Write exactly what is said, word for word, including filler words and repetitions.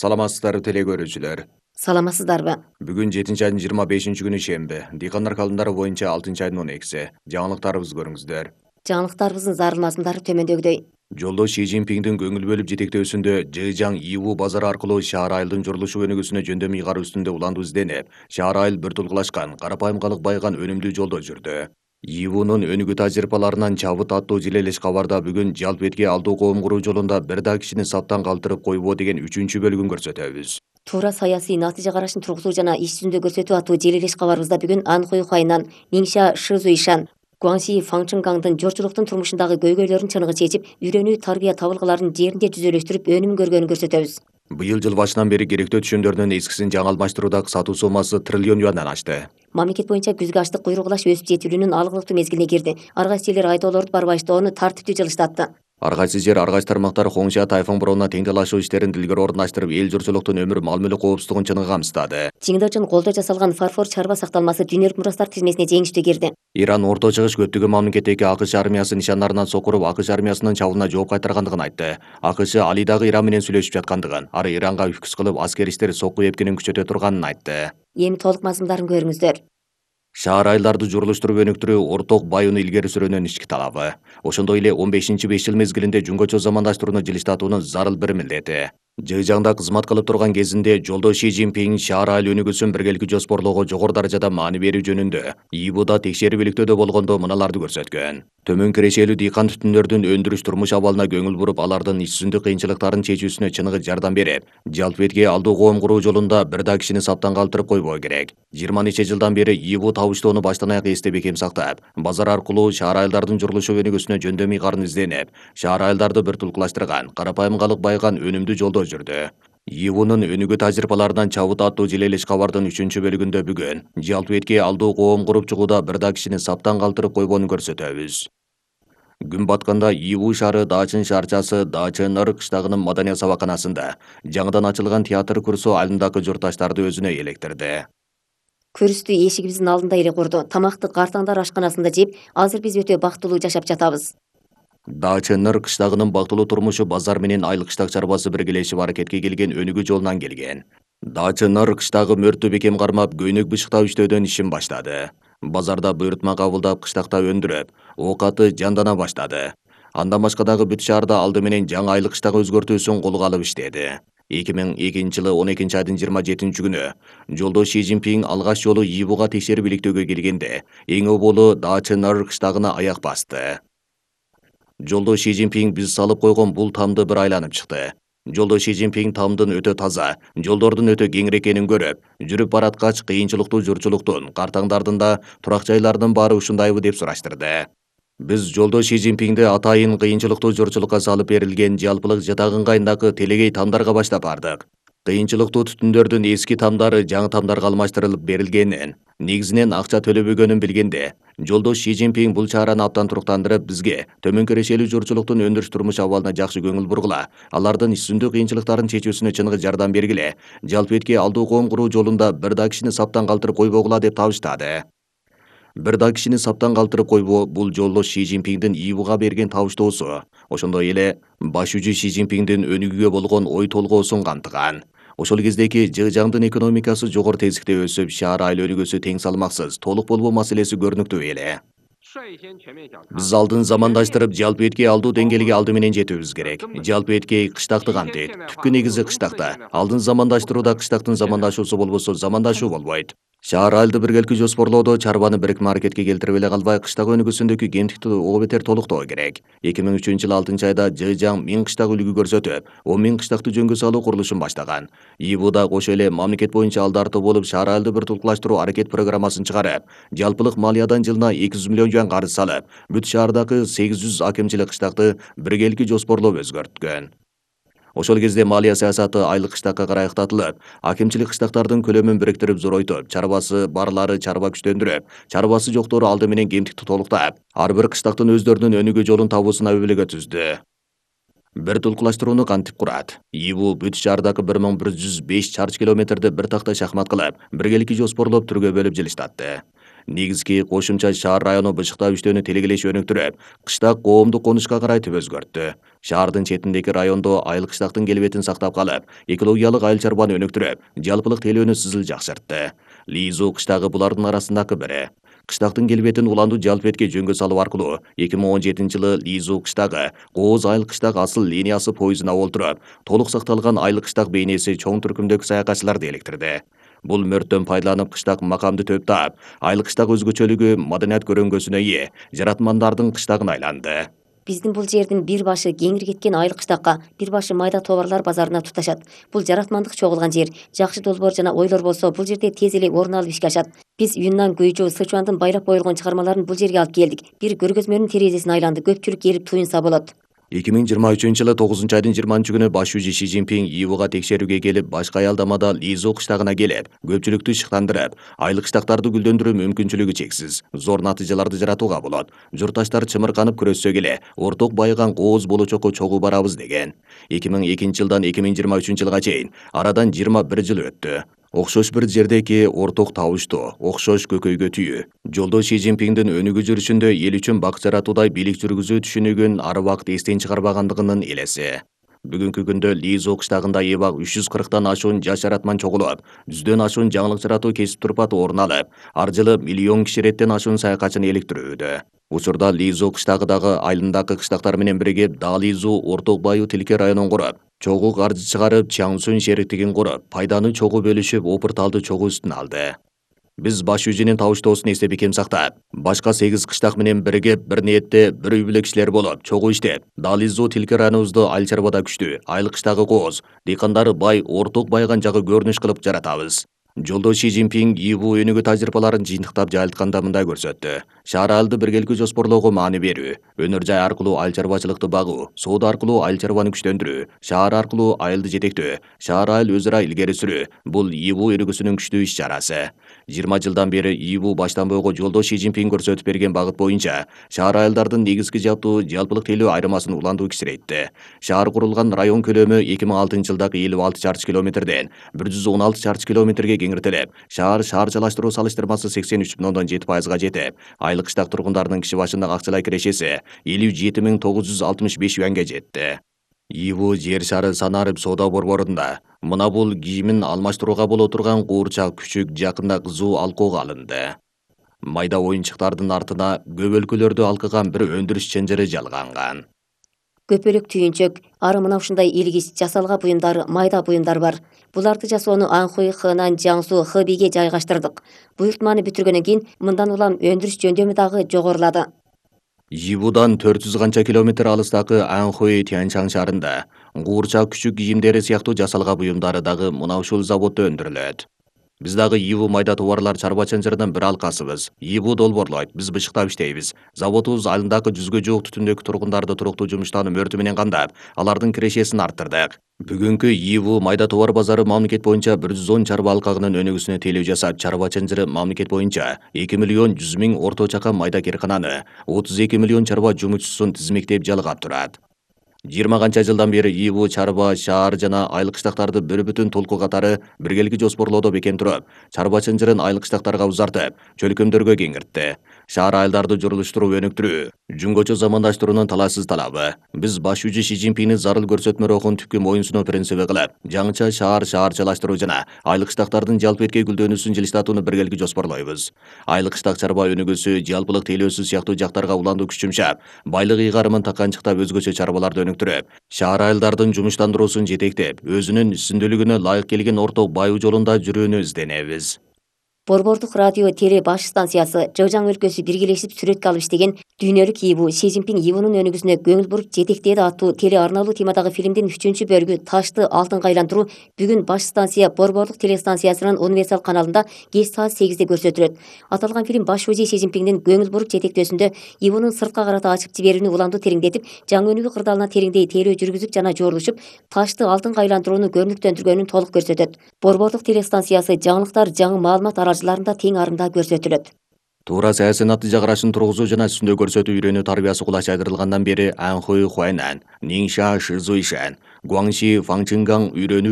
Саламатсыздарбы теле көрүүчүлөр. Саламатсыздарбы? Бүгүн жетинчи айдын жыйырма бешинчи күнү шемби. Дыйкандар календары боюнча алтынчы айдын он экиси. Жаңылыктарыбызды көрүңүздөр. Жаңылыктарыбыздын зарыл мазмундары төмөндөгүдөй. Жолдош Си Цзиньпиндин көңүл бөлүп жетектөөсүндө Жыжаң Иву базары аркылуу шаар айылдын журулушу өнүгүүсүнө жөндөм ыйгаруу үстүндө улануу изденип, шаар айыл бир тулкулашкан, карапайым калык байган өнүмдүү жолдо жүрдү. Ивунун өнүгүү тажрыйбаларынан чабыт аттуу жилелеш кабарда бүгүн жалпы этке алдуу коом куруу жолунда бир да кишини саптан калтырып койбоо деген үчүнчү бөлүгүн көрсөтөбүз. Туура саясий натыйжа карашын тургузуу жана иш жүзүндө көрсөтүү аттуу желилеш кабарыбызда бүгүн Анхуй Хуайнан, Ниңша Шизуишан, Гуанси Фаңчынгаңдын жортчулуктун турмушундагы көйгөйлөрүн чыныгы чечип, үйрөнүү тарбия табылгыларын жеринде жүзөлөштүрүп өнүм көргөнүн көрсөтөбүз. Быйыл жыл башынан бери керектөө түшүмдөрдүн эскисин жаңы алмаштырууда сатуу сомасы триллион юандан ашты. Мамлекет боюнча күзгү аштык куйругулаш өсүп жетилүүнүн алгылыктуу мезгилине кирди. Ар кайсы элдер айдоолорду барбаштоону тартиптүү жылыштатты. Ар кайсы жер, ар кайсы тармактар Хоңша тайфун бороону тең талашуу иштерин дилгер орундаштырып, эл журтчулуктун өмүр мал мүлк коопсуздугун чыныгы камсыздады. Чыңдоо үчүн колдо жасалган фарфор чарба сакталмасы дүйнөлүк мурастар тизмесине жеңиштүү кирди. Иран Орто Чыгыш көптөгөн мамлекеттеги АКШ армиясы нишандарынан сокуруп, АКШ армиясынын чабуулуна жооп кайтаргандыгын айтты. АКШ али дагы Иран менен сүйлөшүп жаткандыгын, ары Иранга үкүс кылып, аскер иштер сокку эпкенин күчөтө турганын айтты. Эми толук мазмундарын көрүңүздөр. Шаар айылдарды журулуштуруп өнүктүрүү орток байууну илгери сүрөөнүн ички талабы. Ошондой эле он бешинчи беш жыл мезгилинде жөнгөчө замандаштырууну жылыштатуунун зарыл бир милдети. Жыжаңда кызмат кылып турган кезинде жолдош Си Цзиньпин шаар айыл өнүгүүсүн биргеликти жоспорлоого жогору даражада маани берүү жөнүндө Ибуда текшерүүлүктөдө болгондо мыналарды көрсөткөн. Төмөн кирешелүү дыйкан түтүндөрдүн өндүрүш турмуш абалына көңүл буруп, алардын иш жүзүндө кыйынчылыктарын чечүүсүнө чыныгы жардам берип, жалпы этке алдуу коом куруу жолунда бир да кишини саптан калтырып койбоо керек. жыйырма нече жылдан бери Ибу табыштоону баштан аяк эсте бекем сактап, базар аркылуу шаар айылдардын журулушу өнүгүүсүнө жөндөм ыйгарын изденип, шаар айылдарды бир тулкулаштырган, карапайым калык байган өнүмдүү жолдо жүрдү. Ивунун өнүгүү тажрыйбаларынан чабыт аттуу жилелеш кабардын үчүнчү бөлүгүндө бүгүн жалпы этке алдуу коом куруп чыгууда бир да кишини саптан калтырып койбоону көрсөтөбүз. Күн батканда Иву шаары Даачын шаарчасы Даачыныр кыштагынын маданият сабаканасында жаңыдан ачылган театр курсу айылындагы журтташтарды өзүнө электирди. Көрүстү эшигибиздин алдында эле курду. Тамакты картаңдар ашканасында жеп, азыр биз өтө бактылуу жашап жатабыз. Даачыныр кыштагынын бактылуу турмушу базар менен айыл кыштак чарбасы биргелешип аракетке келген өнүгүү жолунан келген. Даачыныр кыштагы мөрттү бекем кармап, көйнөк бышыктап иштөөдөн ишин баштады. Базарда буйрутма кабылдап, кыштакта өндүрүп, оокаты жандана баштады. Андан башка дагы бүт шаарда алды менен жаңы айыл кыштак өзгөртүүсүн колго алып иштеди. эки миң экинчи жылы он экинчи айдын жыйырма жетинчи күнү жолдош Си Цзиньпин алгач жолу Ибуга текшерип иликтөөгө келгенде эң оболу Даачыныр кыштагына аяк басты. Жолдош Си Цзиньпин биз салып койгон бул тамды бир айланып чыкты. Жолдош Си Цзиньпин тамдын өтө таза, жолдордун өтө кеңири экенин көрүп, жүрүп бараткач кыйынчылыктуу журтчулуктун, картаңдардын да, турак жайлардын баары ушундайбы деп сураштырды. Биз жолдош Си Цзиньпинди атайын кыйынчылыктуу журтчулукка салып берилген жалпылык жатак ыңгайындагы телегей тамдарга баштап бардык. Кыйынчылыктуу түтүндөрдүн эски тамдары жаңы тамдарга алмаштырылып берилгенин, негизинен акча төлөбөгөнүн билгенде, жолдош Си Цзиньпин бул чараны абдан туруктандырып, бизге төмөн кирешелүү журтчулуктун өндүрүш турмуш абалына жакшы көңүл бургула, алардын иш жүзүндө кыйынчылыктарын чечүүсүнө чыныгы жардам бергиле, жалпы этке алдуу коом куруу жолунда бир да кишини саптан калтырып койбогула деп табыштады. Бир да кишини саптан калтырып койбоо бул жолдош Си Цзиньпиндин Ибуга берген табыштоосу, ошондой эле баш жүзү Си Цзиньпиндин өнүгүүгө болгон ой толгоосун камтыган. Ошол кездеги Жыжаңдын экономикасы жогору тезликте өсүп, шаар айыл өнүгүүсү тең салмаксыз, толук болбоо маселеси көрүнүктүү эле. Биз алдын замандаштырып, жалпы этке алдуу деңгээлге алды менен жетүүбүз керек. Жалпы этке кыштакты камтыйт. Түпкү негизи кыштакта. Алдын замандаштырууда кыштактын замандашуусу болбосо замандашуу болбойт. Шаар айылды биргеликти жоспорлоодо чарбаны бирикме аракетке келтирип эле калбай, кыштак өнүгүүсүндөгү кемтикти ого бетер толуктоо керек. эки миң үчүнчү жылы алтынчы айда Жыжаң миң кыштак үлгү көрсөтүп, он миң кыштакты жөнгө салуу курулушун баштаган. Ибуда кошо эле мамлекет боюнча алды арты болуп шаар айылды бир тулкулаштыруу аракет программасын чыгарып, жалпылык малиядан жылына эки жүз миллион юан карыз салып, бүт шаардагы сегиз жүз акимчилик кыштакты биргеликти жоспорлоп өзгөрткөн. Ошол кезде малия саясаты айыл кыштакка карай ыктатылып, акимчилик кыштактардын көлөмүн бириктирип зоройтуп, чарбасы барлары чарба күчтөндүрүп, чарбасы жоктору алды менен кемтикти толуктап, ар бир кыштактын өздөрүнүн өнүгүү жолун табуусуна өбөлгө түздү. Бир тулкулаштырууну кантип курат? Ибу бүт шаардагы бир миң бир жүз беш чарчы километрди бир такта шахмат кылып, биргеликти жоспорлоп түргө бөлүп жылыштатты. негизги кошумча шаар району бышыктап иштөөнү тилегелеши өнүктүрүп, кыштак коомдук конушка карай түбөзгөрттү. Шаардын четиндеги райондо айыл кыштактын келбетин сактап калып, экологиялык айыл чарбаны өнүктүрүп, жалпылык тейлөөнү сызыл жакшыртты. Лизу кыштагы булардын арасындагы бири. Кыштактын келбетин уландуу жалпетке жөнгө салуу аркылуу эки миң он жетинчи жылы Лизу кыштагы Кооз айыл кыштак асыл линиясы поездуна олтуруп, толук сакталган айыл кыштак бейнеси чоң түркүмдөгү саякатчыларды эликтирди. Бул мөрттөн пайдаланып кыштак макамды төп таап, айыл кыштак өзгөчөлүгү, маданият көрөңгөсүнө ээ жаратмандардын кыштагына айланды. Биздин бул жердин бир башы кеңири кеткен айыл кыштакка, бир башы майда товарлар базарына туташат. Бул жаратмандык чогулган жер. Жакшы долбоор жана ойлор болсо, бул жерде тез эле орун алып ишке ашат. Биз Юннан, Гуйжу, Сычуандын байлап коюлган чыгармаларын бул жерге алып келдик. Бир көргөзмөнүн терезесине айланды. Көпчүлүк келип туюнса болот. эки миң жыйырма үчүнчү жылы тогузунчу айдын жыйырманчы күнү баш шүүжү Ши Цзиньпин Ивуга текшерүүгө келип, башка аялдамада Лизу кыштагына келип, көпчүлүктү шыктандырып, айыл кыштактарды гүлдөндүрүү мүмкүнчүлүгү чексиз, зор натыйжаларды жаратууга болот. Журтташтар чымырканып күрөшсө эле, орток байыган Кооз болочокко чогуу барабыз деген. эки миң экинчи жылдан эки миң жыйырма үчүнчү жылга чейин арадан жыйырма бир жыл өттү. Окшош бир жердеки орток табыштуу, окшош көкөйгө түйүү. Жолдо Ши Цзиньпиндин өнүгүү жүрүшүндө эл үчүн бак жаратуудай бийлик жүргүзүү түшүнүгүн ар убакыт эстен чыгарбагандыгынын элеси. Бүгүнкү күндө Лизу кыштагында эбак үч жүз кырктан ашуун жаш жаратман чогулуп, жүздөн ашуун жаңылык жаратуу кесип турпаты орун алып, ар жылы миллион киши реттен ашуун саякатчыны эликтирүүдө. Учурда Лизу кыштагыдагы айылындагы кыштактар менен биригип, Дализу орток баю тилке районун куруп, чогуу каржы чыгарып, Чаңсун шериктигин куруп, пайданы чогуу бөлүшүп, опурталды чогуу үстүнө алды. Биз баш шүүжүнүн табыштоосун эстеп бекем сактап, башка сегиз кыштак менен биригип, бир ниетте, бир үй бүлө кишилер болуп, чогуу иштеп, Дализу тилке районубузду айыл чарбада күчтүү, айыл кыштагы Кооз, дыйкандары бай, орток байыган жагы көрүнүш кылып жаратабыз. Жолдо Ши Цзиньпин Иву өнүгүү тажрыйбаларын жыйынтыктап жайылтканда мындай көрсөттү. Шаар айылды биргеликке жоспорлоого маани берүү, өнөр жай аркылуу айыл чарбачылыкты багуу, соода аркылуу айыл чарбаны күчтөндүрүү, шаар аркылуу айылды жетектөө, шаар айыл өз ара илгери сүрүү — бул Иву өнүгүүсүнүн күчтүү иш чарасы. жыйырма жылдан бери Иву баштан бойго жолдо Ши Цзиньпин көрсөтүп берген багыт боюнча шаар айылдардын негизги жаптуу жалпылык тейлөө айырмасын уландуу кичирейтти. Шаар курулган район көлөмү эки миң алтынчы жылдагы элүү алты чарчы километрден бир жүз он алты чарчы километрге кеңиртилип, шаар шаарчалаштыруу салыштырмасы сексен үч бүтүн ондон жети пайызга жетип, айыл кыштак тургундардын киши башынагы акчалай кирешеси элүү жети миң тогуз жүз алтымыш беш юанга жетти. Иву жер шары санарып соода борборунда мына бул кийимин алмаштырууга боло турган куурчак күчүк жакында кызуу алкоого алынды. Майда оюнчуктардын артына көп өлкөлөрдү алкыган бир өндүрүш чынжыры жалганган. Көпөлүк түйүнчөк, ары мына ушундай илгич жасалга буюмдар, майда буюмдар бар. Буларды жасоону Анхуй, Хэнан, Жаңсу, Хэбиге жайгаштырдык. Буйртманы бүтүргөндөн кийин мындан улам өндүрүш жөндөмү дагы жогорулады. Ивудан төрт жүз канча километр алыстагы Анхуй Тяньшан шаарында куурчак күчүк кийимдери сыяктуу жасалга буюмдары дагы мына ушул заводдо өндүрүлөт. Биз дагы Иву майда товарлар чарба чынжырынын бир алкасыбыз. Иву долбоорлойт, биз бышыктап иштейбиз. Заводубуз айылындагы жүзгө жуук түтүндөгү тургундарды туруктуу жумуштануу мөртү менен камдап, алардын кирешесин арттырдык. Бүгүнкү Иву майда товар базары мамлекет боюнча бир жүз он чарба алкагынын өнүгүүсүнө тейлөө жасап, чарба чынжыры мамлекет боюнча эки миллион жүз миң орто чакан майда кыйркананы, отуз эки миллион чарба жумушчусун тизмектеп жалгап турат. жыйырма канча жылдан бери Иву чарба, шаар жана айыл кыштактарды бир бүтүн толку катары биргеликке жоспорлоодо бекем туруп, чарба чынжырын айыл кыштактарга узартып, чөлкөмдөргө кеңиртти. Шаар айылдарды журулуштуруу, өнүктүрүү жүнгөчө замандаштыруунун талашсыз талабы. Биз баш шүүжү Ши Цзиньпиндин зарыл көрсөтмө рухун түпкү моюнсунуу принциби кылып, жаңыча шаар шаарчалаштыруу жана айыл кыштактардын жалпетке гүлдөнүүсүн жылыштатууну биргеликке жоспорлойбуз. Айыл кыштак чарба өнүгүүсү, жалпылык тейлөөсү сыяктуу жактарга уландуу күч жумшап, байлык ыйгарымын таканчыктап өзгөчө чарбаларды өнүктүрүп, шаар айылдардын жумуштандыруусун жетектеп, өзүнүн үстүндүүлүгүнө ылайык келген орток баюу жолунда жүрүүнү изденебиз. Борбордук радио теле баш станциясы Жожаң өлкөсү биргелешип сүрөткө алып иштеген Дүйнөлүк Иву, Ши Цзиньпин Ивунун өнүгүүсүнө көңүл буруп жетектеди аттуу теле арналуу темадагы фильмдин үчүнчү бөлүгү Ташты алтынга айлантыруу бүгүн баш станция Борбордук телестанциясынын универсал каналында кеч саат сегизде көрсөтүлөт. Аталган фильм баш шүүжү Ши Цзиньпиндин көңүл буруп жетектөөсүндө Ивунун сыртка карата ачып жиберүүнү уламдуу тереңдетип, жаңы өнүгүү кырдаалына тереңдей тейлөө жүргүзүп жана жорулушуп, Ташты алтынга айлантырууну көрүнүктөндүргөнүн толук көрсөтөт. Борбордук телестанциясы жаңылыктар жаңы маалымат аралажыларында тең арында көрсөтүлөт. Туура саясий натыйжа карашын тургузуу жана үстүндө көрсөтүү үйрөнүү тарбиясы кулач айдырылгандан бери Анхуй Хуайнан, Ниңша Шизуишан, Гуаңши Фаңчингаң үйрөнүү